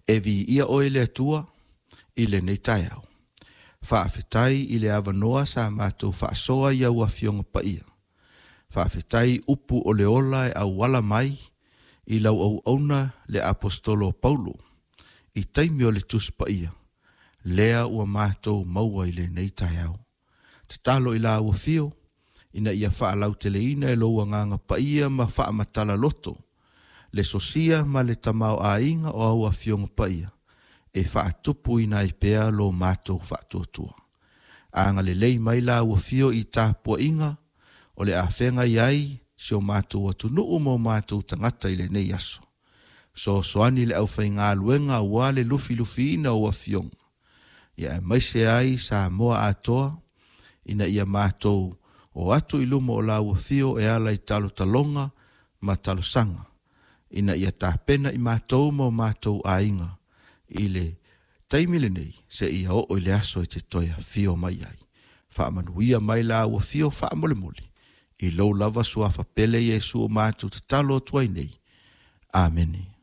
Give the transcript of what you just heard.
E viia oe le Atua i lenei taeao. Faafetai i le avanoa sa matou faasoa i au Afioga Paia. Faafetai upu o le ola e auala mai i lau auauna le Aposetolo o Paulo i taimi o le Tusi Paia, lea ua matou maua i lenei taeao. Tatalo i lau afio ina ia faalauteleina e lou Agaga Paia ma faamatala loto le sosia ma le tamaoaiga o au Afioga Paia e faatupuina ai pea lo matou faatuatua. Agalelei mai lau afio i tapuaiga o le afeagai ai si o matou atunuu ma o matou tagata i lenei aso. Fesoasoani i le aufaigaluega aua le lufilufiina o afioga, ia aemaise ai Samoa atoa ina ia matou o atu i luma o lau afio e ala i talotaloga ma talosaga, ina ia tapena i matou ma o matou aiga i le taimi lenei seia oo i le aso e te toe afio mai ai. Faamanuia mai lau afio faamolemole i lou lava suafa pele Iesu o matou tatalo atu ai nei. Amene.